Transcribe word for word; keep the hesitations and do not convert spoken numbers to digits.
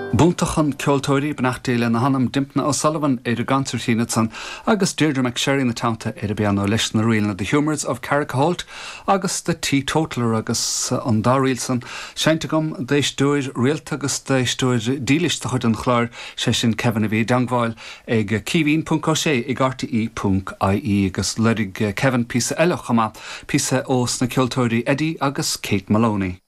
B'iontach an ceoltóirí beannacht Dé lena hanam Dympna O'Sullivan ar an gconsairtín ansan agus Deirdre McSherry ina teannta ar an bpianó leis na ríleanna The Humours of Carrigaholt agus The Teetotaller agus an dá ríl san seinnte agam d'éisteoir rialta agus d'éisteoir dílis de chuid an chláir sé sin Kevin a bhí i dteagmháil ag caoimhín.sé ag RTE.ie agus lorg Kevin píosa eile chomh maith píosa ó sna ceoltóirí Eddie agus Kate Maloney.